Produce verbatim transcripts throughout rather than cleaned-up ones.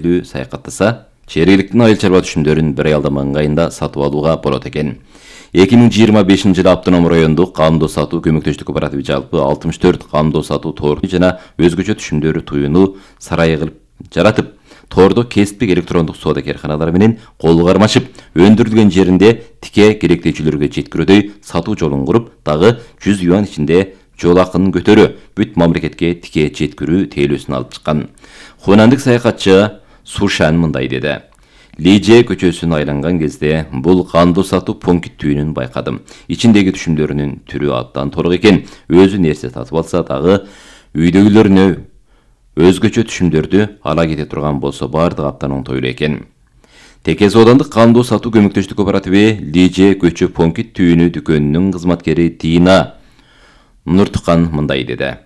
көңүлдүү саякаттаса, жергиликтүү айыл чарба түшүмдөрүн бир аялдама ыңгайында сатып алууга болот экен. эки миң жыйырма бешинчи жылы Автоном райондук камдоо сатуу көмөктөштүк кооперативи жалпы алтымыш төрт камдоо сатуу торду жана өзгөчө түшүмдөрү туюну сарайы кылып жаратып, тордо кесиптик электрондук соода керканалары менен колу кармашып, өндүрүлгөн жеринде тике керектөөчүлөргө жеткирүүдөй сатуу жолун куруп, дагы жүз юань ичинде жол акынын көтөрүү, бүт мамлекетке тике жеткирүү тейлөөсүн алып чыккан. Хунандык саякатчы Сушан мындай деди: Лиже көчөсүн айланган кезде бул камдоо сатуу пункттүүнүн байкадым. Ичиндеги түшүмдөрүнүн түрү абдан торок экен. Өзү нерсе сатып алса дагы үйдөгүлөрүнө өзгөчө түшүмдөрдү ала кете турган болсо баардыгы абдан оңтойлуу экен. Текес аудандык камдоо сатуу көмөктөштүк кооперативи Лиже көчө пункттүүнү дүкөнүнүн кызматкери Дина Нурткан мындай деди: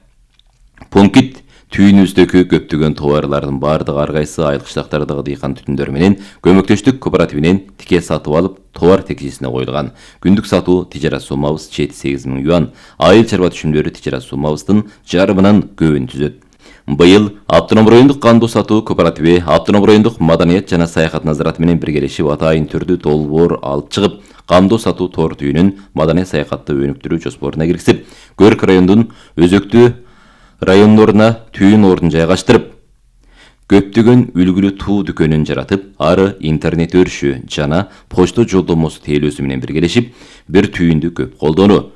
Пункт түйүнүбүздөгү көптөгөн товарлардын баардыгы ар кайсы айыл кыштактардагы дыйкан түтүндөрү менен көмөктөштүк кооперативинен тике сатып алып, товар текчесине коюлган. Күндүк сатуу тижарат суммабыз жети сегиз миң юань, айыл чарба түшүмдөрү тижарат суммабыздын жарымынан көбүн түзөт. Быйыл Автоном райондук камдоо сатуу кооперативи Автоном райондук маданият жана саякат назараты менен биргелешип атайын түрдүү долбоор алып чыгып, камдоо сатуу тор түйүнүн маданият саякатты өнүктүрүү жоспоруна киргизип, Көрк райондун өзөктүү райондоруна түйүн ордун жайгаштырып, көптөгөн үлгүлүү туу дүкөнүн жаратып, ары интернет өрүшү жана почта жолдомосу тейлөөсү менен биргелешип, бир түйүндү көп колдонуу,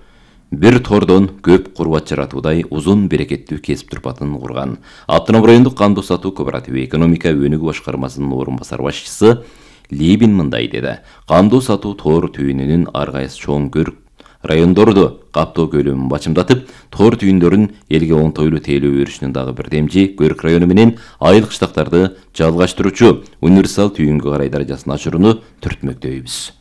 бир тордон көп курбат жаратуудай узун берекеттүү кесип турпатын курган. Автоном райондук камдоо сатуу кооперативи экономика өнүгүү башкармасынын орун басар башчысы Либин мындай деди: Камдоо сатуу тоор түйүнүнүн ар кайсы чоң Көрк райондорду каптоо көлөмүн бачымдатып, тоор түйүндөрүн элге оңтойлуу тейлөө өрүшүнүн дагы бир демжи Көрк району менен айыл кыштактарды жалгаштыруучу универсал түйүнгө карай даражасын ашырууну түртмөктөйбүз.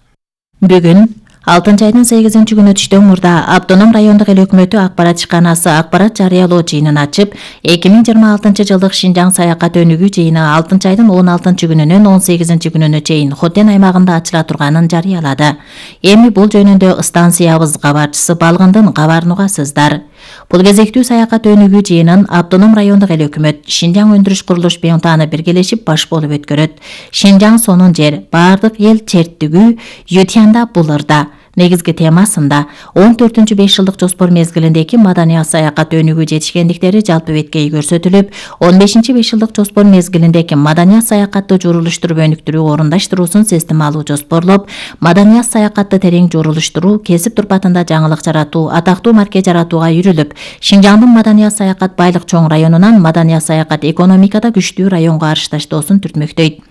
Бүгүн алтынчы айдын сегизинчи күнү түштөн мурда Автоном райондук эл өкмөтү акпарат ишканасы акпарат жарыялоо жыйынын ачып, эки миң жыйырма алтынчы жылдык Шинжаң саякат өнүгүү жыйыны алтынчы айдын он алтынчы күнүнөн он сегизинчи күнүнө чейин Хотен аймагында ачыла турганын жарыялады. Эми бул жөнүндө станциябыз кабарчысы Балгындын кабарын угасыздар. Бул кезектүү саякат өнүгүү жыйынын Автоном райондук эл өкмөт Шинжаң өндүрүш курулуш бюнтаны биргелешип баш болуп өткөрөт. Шинжаң сонун жер, бардык эл чертүгү Ютянда булырда негизги темасында он төртүнчү беш жылдык жоспор мезгилиндеги маданият саякат өнүгүү жетишкендиктери жалпы беткей көрсөтүлүп, он бешинчи беш жылдык жоспор мезгилиндеги маданият саякатты журулуштуруп өнүктүрүү орундаштыруусун системалуу жоспорлоп, маданият саякатты терең журулуштуруу, кесип турпатында жаңылык жаратуу, атактуу марке жаратууга үйрүлүп, Шинжаңдын маданият саякат байлык чоң районунан маданият саякат экономикада күчтүү районго арышташтоосун түртмөктөйт.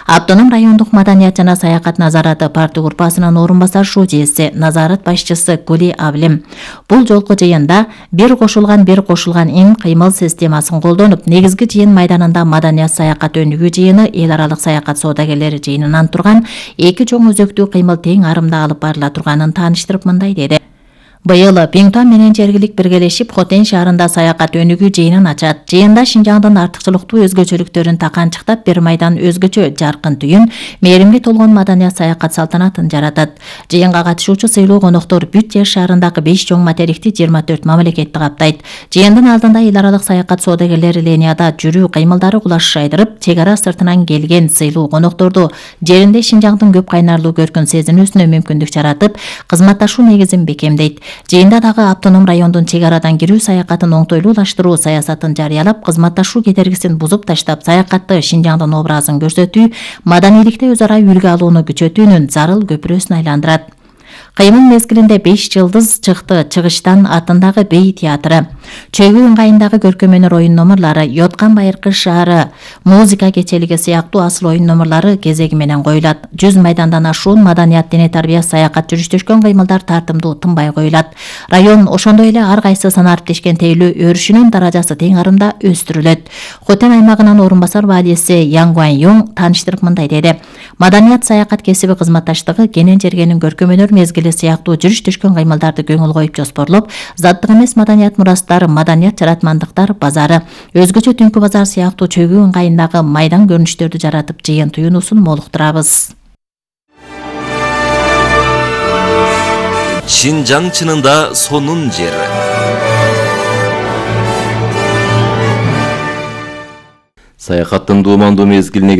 Автоном райондук маданият жана саякат назараты парты группасынын орун басар шуудеси, назарат башчысы Гули Аблим бул жолку жыйында бир кошулган бир кошулган ин кыймыл системасын колдонуп, негизги жыйын майданында маданият саякат өнүгүү жыйыны, эл аралык саякат соодагерлери жыйынынан турган эки чоң өзөктүү кыймыл тең арымда алып барыла турганын тааныштырып мындай деди: Быйыл Пиңтон менен жергилик биргелешип Хотен шаарында саякат өнүгүү жыйынын ачат. Жыйында Шинжаңдын артыкчылыктуу өзгөчөлүктөрүн таканчыктап, бир майдан өзгөчө жаркын түйүн, мээримге толгон маданият саякат салтанатын жаратат. Жыйынга катышуучу сыйлуу коноктор бүт жер шаарындагы беш чоң материкти жыйырма төрт мамлекетти каптайт. Жыйындын алдында эл аралык саякат соодагерлери линияда жүрүү кыймылдары кулаш айдырып, чек ара сыртынан келген сыйлуу конокторду жеринде Шинжаңдын көп кайнарлуу көркүн сезинүүсүнө мүмкүндүк жаратып, кызматташуу негизин бекемдейт. Жыйында дагы Автоном райондун чек арадан кирүү саякатын оңтойлуулаштыруу саясатын жарыялап, кызматташуу кедергисин бузуп таштап, саякатты Шинжаңдын образын көрсөтүү, маданийликте өз ара үлгү алууну күчөтүүнүн зарыл көпүрөсүн айландырат. Кыймыл мезгилинде беш жылдыз чыкты чыгыштан атындагы бей театры, Чөгүү ыңгайындагы көркөм өнөр оюн номурлары, Йоткан Байыркы шаары музыка кечелиги сыяктуу асыл оюн номурлары кезеги менен коюлат. Жүз майдандан ашуун маданият, дене тарбия, саякат жүрүштөшкөн кыймылдар тартымдуу тынбай коюлат. Район ошондой эле ар кайсы санариптешкен тейлөө өрүшүнүн даражасы тең арымда өстүрүлөт. Хотен аймагынын орун басар валийси Яң Гуань Юң тааныштырып мындай деди: Маданият саякат кесиби кызматташтыгы кенен жергенин көркөм өнөр мезгили сыяктуу жүрүштөшкөн кыймылдарды көңүл коюп жоспорлоп, заттык эмес маданият мурастар, маданият жаратмандыктар базары, өзгөчө түнкү базар сыяктуу чөгүү ыңгайындагы майдан көрүнүштөрдү жаратып, жыйын туюнуусун молуктурабыз. Шинжаң чынында сонун жер. Саякаттын дуумандуу мезгилине